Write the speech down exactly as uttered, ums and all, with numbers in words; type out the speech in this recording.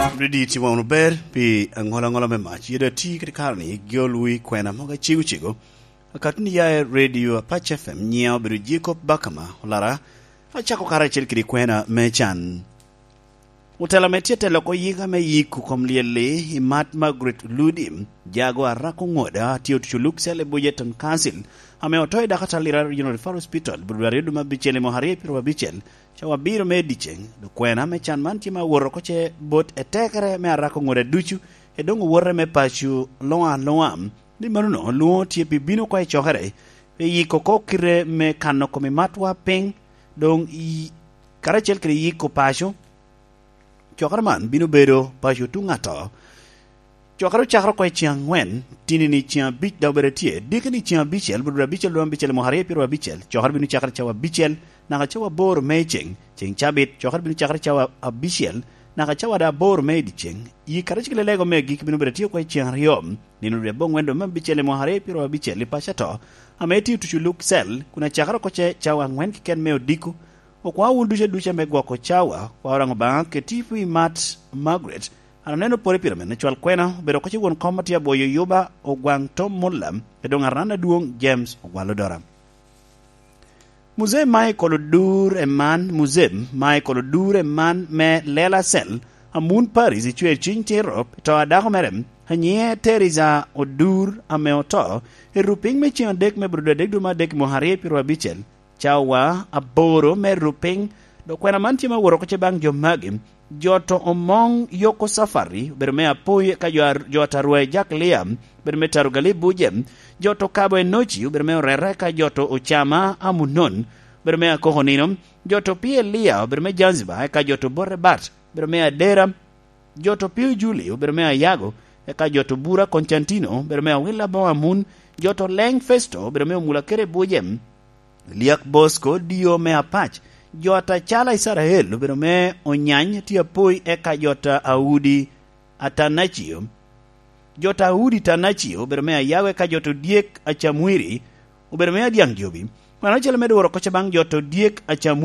Redi timo wunu ber pi aŋola aŋola me mac. Yede ati kede kare ni, giol wi kwena mogo acego cego. Akatuni ya i Radio Apac F M, nyiŋa obedo Jacob Bakama, olara, acako karacel kede kwena me can. Otela me tye telo oko yika me yiko kom lyel-li i mat Margaret Ludi, jago Arako Ŋoda, tye otuco Luke Cell i Bujeton Council, ame oto i dakatar Lira Regional Referral Hospital, bur aryo dum abicel i mwaka aryo pyero abicel, cawa abiro me dyeceŋ. Dok kwena me can man tye ma woro oko ce bot etekere me Arako Ŋoda ducu, e doŋ owote me paco luŋa luŋa. Ni mano no, lwoŋo tye pi bino oko i cokere, pi yiko oko kite me kano kom i matwa piny, doŋ i, karacel kede yiko paco. Cokere man bino bedo paco tuŋ ato. Cokere ocakere oko i ceng aŋwen, tini ni ceng abic daŋ obedo tye, diki ni ceng abicel, bur abicel dwe abicel i mwaka aryo pyero abicel, cokere bino cakere cawa abicel, naka cawa aboro me ceng, ceng cabit, cokere bino cakere cawa abicel, naka cawa da aboro me i dyeceŋ. Yi karacel kede lego me agikki bino bedo tye oko i ceng aryo, nino dwe aboŋwen dwe me abicel i mwaka aryo pyero abicel i paco ato, ame tye otuco Luke Cell, kun acakere oko ce cawa aŋwen keken me odiko, Okwaŋ wun ducu aduca me gwoko cawa, kwa Oraŋo Obaŋa keti pi mat Margaret. An oneno pore pire mene cwal kwena, obedo oko ce won kom atye abwoyo yuba Ogwaŋ Tom Mulla, e doŋ aran adwoŋ James Ogwal Odora. Muzee Michael Odur Eman, Muzee Michael Odur Eman me Lela Cell, Amun Paris, icwer cwiny tiro, to a dako mere, anyiŋe Teresa Odur ame oto, i rupiny me ceng adek me bur dwe adek dwe me adek i mwaka aryo pyero abicel, cawa aboro me rupiny. Dok kwena man tye ma woro oko ce baŋ jo magi, jo to Omoŋ Yoko Safari, obedo me Apoi, eka jo ar-, jo Atarwa i Jaklia, obedo me Tarugali Buje, jo to Kabo Enoci, obedo me Orera, eka jo to Ocama Amunon, obedo me Akoko Nino, jo to Pielia, obedo me Zanzibar, eka jo to Borebat, obedo me Adera, jo to Pio Juli, obedo me Ayago, eka jo to Bura Koncantino, obedo me Awila Boŋ Amun, jo to Leng Festo, obedo me Omula kede Buje, Liak Bosco Dio me Apac, jo ta Cala Icarael, obedo me Onyany tye Apoi, eka jo ta Audi Atanacio, jo ta Audi Tanacio, obedo me Ayago, eka jo to Dyek Acamwiri, obedo me Adyaŋ Jobi. Wan ocele medo woro oko ce baŋ jo to Dyek Acamwiri.